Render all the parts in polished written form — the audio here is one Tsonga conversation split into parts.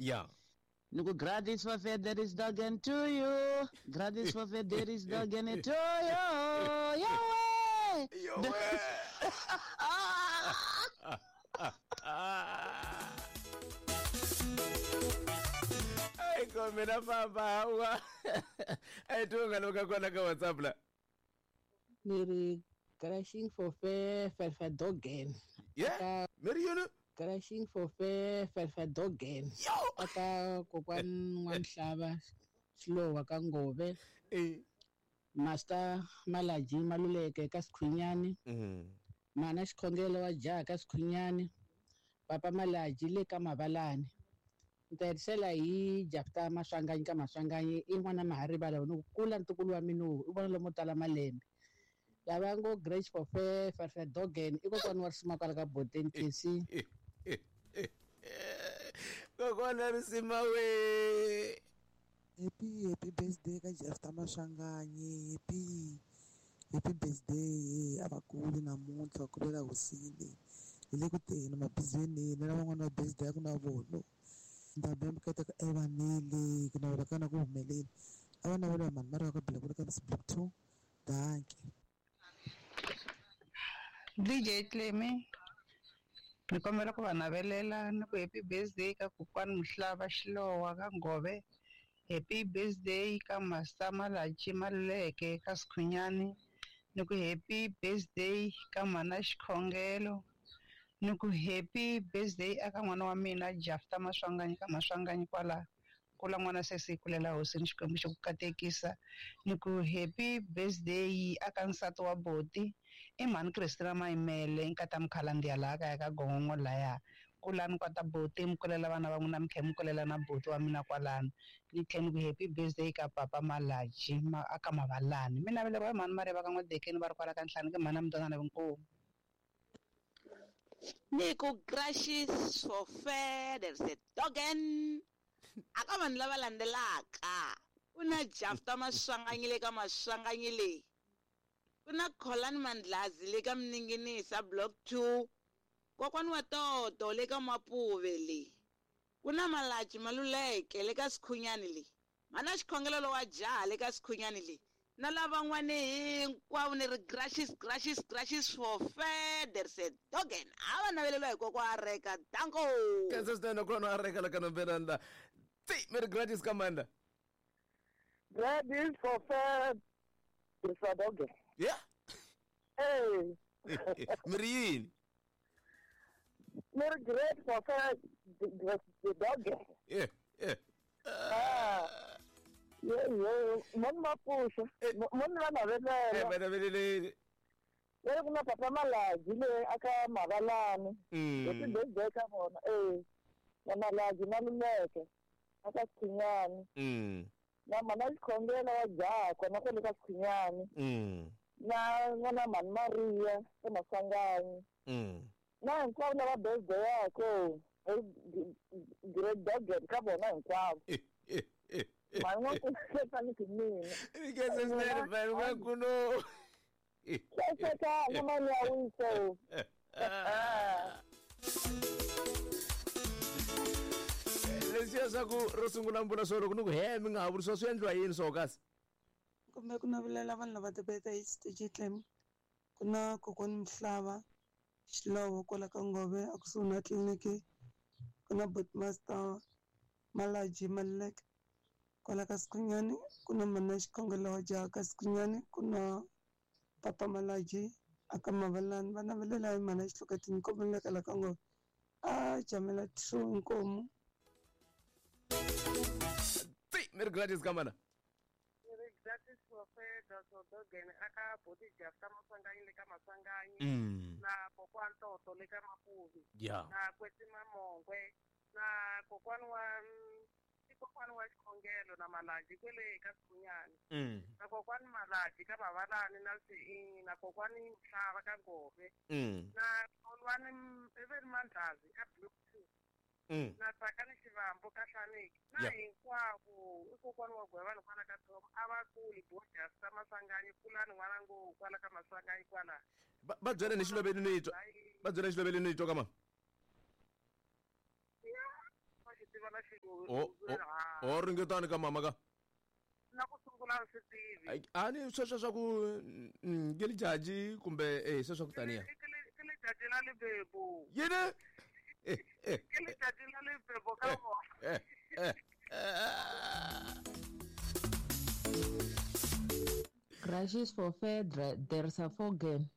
Ya. Ni ku gratis for fair there is dogen to you. Gratis for fair there is dogen to you. Yowe. Yowe. Ai ko mina famba hawa. Ai tunga loka kona ka WhatsApp la. Ni ri crashing for fair fair fair dogen. Yeah. Meri yini? Crashing for fair fair fair dogen. Yo. Aka kokwan wa Mhlaba Xilowa ka Ngove. Eh. Master Malaji Maluleke ka Sikhwinyani. Mana Xikhongelo wa jaha ka Sikhwinyani. Papa Malaji le ka Mavalani. Ni ta hetisela hi Jafta Maswanganyi ka Maswanganyi i n'wana Maharivala ni ku kula ntukulu wa mina i vona lomo tala malembe. Lava ngo Grace for fair fair fair dogen i kokwana wa risima kwala ka Boteni KC. Kokwana risima we. Happy happy birthday ka Jafta Maswanganyi. Happy happy birthday a va kuli namuntlha ku lela hosini. Hi le ku teni mabizweni na van'wana va birthday ya ku na vona. Ndhambi ya mikateko evanele ku navela ka na ku humelela. A va navela mhani mara ka bila ku ka Block 2. Dankie. DJ Clemy, ni kombela ku va navelela ni ku happy birthday ka kokwani Mhlaba Xilowa ka Ngove. Happy birthday ka Master Malaji Maluleke ka Sikhwinyani. Ni ku happy birthday ka Mana Xikhongelo. Ni ku happy birthday aka n'wana wa mina Jafta Maswanganyi ka Maswanganyi kwala kula n'wana sesi kulela hosini Xikwembu xi ku katekisa. Ni ku happy birthday aka nsati wa boti i mhani Christina Mayimele nkata Mkhalandiya laha kaya ka Gongongo laya. Kulani kwata boti mi kulela vana va n'wina mi tlhela mi kulela na boti wa mina kwalano. Ni tlhela ni ku happy birthday ka papa Malaji aka Mavalani. Mi naveleriwa hi mhani Mariva ka N'wadekeni va ri kwala ka Nhlanu ke mhani a Mutwanana Vinkomu. Ni ku crashes for fair there's a dogen. Aka vanhu lava landzelaka ku na Jafta Maswanganyi le ka Maswanganyi leyi, ku na Kholani Mandlazi le ka Mninginisa Block 2, kokwani wa Toto le ka Mapuve leyi, ku na Malaji Maluleke le ka Sikhwinyani leyi, mana Xikhongelo lowa jaha le ka Sikhwinyani leyi, na lavan'wani hinkwavo ni ri gracious gracious gracious for fair there's a dogen. A va naveleliwa hi kokwa a reka. Danko. Kansas swinene kona a reka la ka nombelani la. Ti mi ri gratis ka manda. Gratis for fair there's a dogen. Yeah. Hey. Mi ri yini? Mi ri great for fair the dogen. Yeah, yeah. Ah. Yeah, yeah. Moni mapusha. Moni va navelela. Va naveleleni. Leri ku na papa Malaji le aka Mavalani. Happy birthday ka vona. Na Malaji Maluleke aka Sikhwinyani. Na mana Xikhongelo wa jaha kona kwale ka Sikhwinyani. Na n'wana mhani Maria ka Maswanganyi. Na hinkwavo lava birthday yako great dogen ka vona hinkwavo. Mhani n'wa ku mina. Ni khensa swinene mhani n'wakuno. Saseka na mali ya wiso. Leswiya swa ku ro sungula mi vula swo loko ni ku he mi nga ha vuri swo swi endliwa yini swo kasi? Kumbe ku navelela vanhu lava ti-birthday DJ Clem. Ku na kokwani Mhlaba Xilowo kwala ka Ngove a kusuhi na tliliniki. Ku na Botmaster Malaji Maluleke kwala ka Sikhwinyani. Ku na mana Xikhongelo wa jaha ka Sikhwinyani. Ku na Papa Malaji aka Mavalani. Va navelela hi mana Xihloketini Nkomo le ka Ngove. A jamela true Nkomo. Ti mi ri gratis ka mana. Mi ri gratis for fair there's a dogen aka boti Jafta Maswanganyi le ka Maswanganyi. Na kokwani Toto le ka Mapuve. Yeah. Na Kwetsima Mongwe na kokwani wa kokwani wa Xikhongelo na Malaji kwele ka Sikhwinyani. Na kokwani Malaji ka Mavalani na na kokwani Mhlaba ka Ngove. Na Kholwani Even Mandlazi ka Block 2. Na Tsakani Xivambo ka Hlaneki. Na hinkwavo i kokwani wa Gwevani kwala ka Tom a va kuli bo Jafta Maswanganyi kulani n'wana ngo kwala ka Maswanganyi kwala. Va byele ni xiloveli ni twa. Va byele ni xiloveli ni twa ka ma. Ya, va xi tiva na xi O ringetani ka mama ka na ku sungula swi tivi a ni sweswo swa ku ke lijaji kumbe sweswo ku taniya ke lijaji la lebebo yini ke lijaji la lebebo ka vona. Crashes for Fedra there's a fogen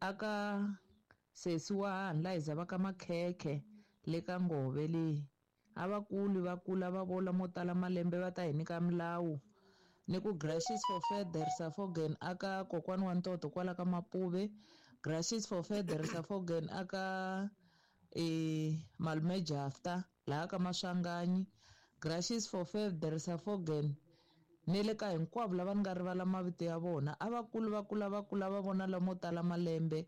aka sesi wa hanhu la hi zavaka makhekhe le ka ngove leyi a va kuli va kula va vola mo tala malembe va ta hi nyika milawu ni ku gracious for Feders Afogen aka kokwani wa ntoto kwala ka Mapuve, gracious for Feders Afogen aka malume Jafta laha ka Maswanganyi, gracious for Feders Afogen ni le ka hinkwavo lava ni nga rivala mavito ya vona a va kuli va kula va kula va vona lamo tala malembe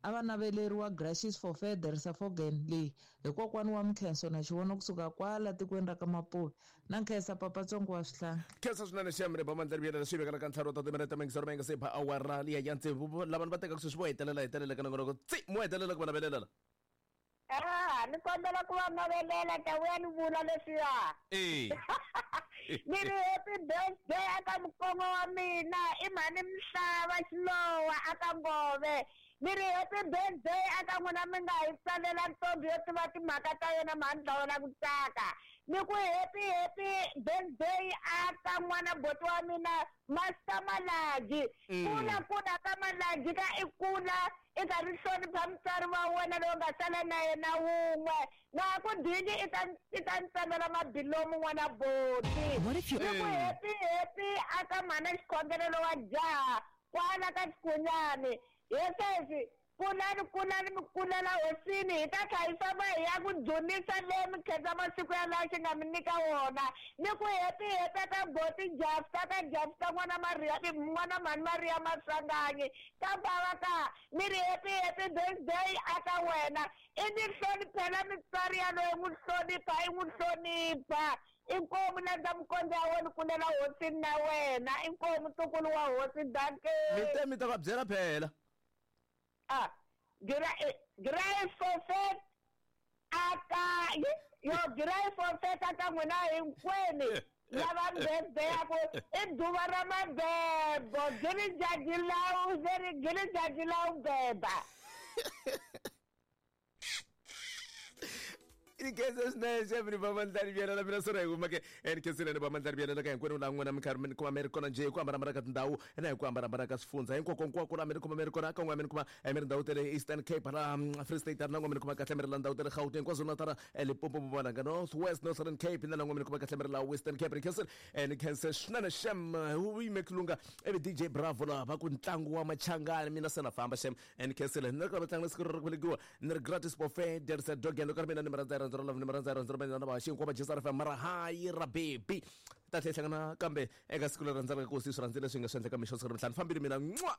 a va naveleriwa gracious for Feders Afogen leyi hi kokwani wa Mkhenso na xivona kusuka kwala tikweni ra ka Mapuve na nkhensa papatsongo wa swihlanga. Khensa swinene xiyamire ba mandla riviyela swi vekela ka ntlhanu wa timinete mingisero menga se ba awara liya ya tsevu lava va tekaka sweswi vo hetelela ka nongonoko tsi mo hetelela ku va navelela. Ni kombela ku va navelela ta vuya ni vula leswiya. Ni ri happy birthday aka mukongo wa mina i mhani Mhlava Xilowa aka Ngove. Ni ri happy birthday aka n'wina mi nga hi tsalela ntombi yo tiva timhaka ta yena mhani dlawela ku tsaka. Ni ku happy birthday aka n'wana boti wa mina Master Malaji. Kula kula ka Malaji ka i kula i karhi hlonipha mutswari wa wena loyi nga sala na yena wun'we na ku dini i ta ni tsalela mabilomu n'wana boti. Ni ku happy aka mhana xikhongelelo wa jaha kwala ka Xikunyani. Yesesi kulani mi kulela hosini hi ta tlha hi famba hi ya ku dzunisa leyi mi khensa masiku ya laha xi nga mi nyika wona. Ni ku happy ka boti Jafta ka Jafta n'wana Maria n'wana mhani Maria Maswanganyi ka bava ka ni ri happy birthday aka wena i ni hloniphela mitswari ya loyi n'wi hlonipha i n'wi hlonipha. Inkomu landza mukondzo ya wena kulela hosini na wena inkomu ntukulu wa hosi danke. Mi ta va byela phela. Grace aka yo grace aka n'wina hinkwenu lava birthday ya ku i duva ra mabebo giri jaji lawu beba. Ikhensa swinene xevri va mandlari byela mina sora hi kuma ke enkhenseleni va mandlari byela ka hinkwenu la n'wina mi karhi mi kuma mi ri kona njhe hi ku hambanahambana ka tindhawu na hi ku hambanahambana ka swifundza hinkwako la mi ri kuma mi ri kona ka n'wana mi ri kuma mi ri ndhawu ta le Eastern Cape la Free State na n'wana mi ri kuma kahle mi ri la ndhawu ta le Gauteng KwaZulu-Natal Limpopo Mpumalanga North West Northern Cape na la n'wana mi ri kuma kahle mi ri la Western Cape ni khense swinene xem wu yime kulunga ivi DJ Bravo la va ku ntlangu wa machangani mina se na famba xem ni khensile ni ri ka vatlangi siku ri velekiwa ni ri gratis buffet there's a dog and ka mina ni mi rhandza rhandza love ni mi rhandza rhandza mina na vaxi hinkwavo va JSR FM mara hayi ra baby ta tlhela hlangana kambe eka siku leri rhandzaka ku swi rhandzile swi nga swi endleka mixo siku ra mintlhanu fambile mina n'wa.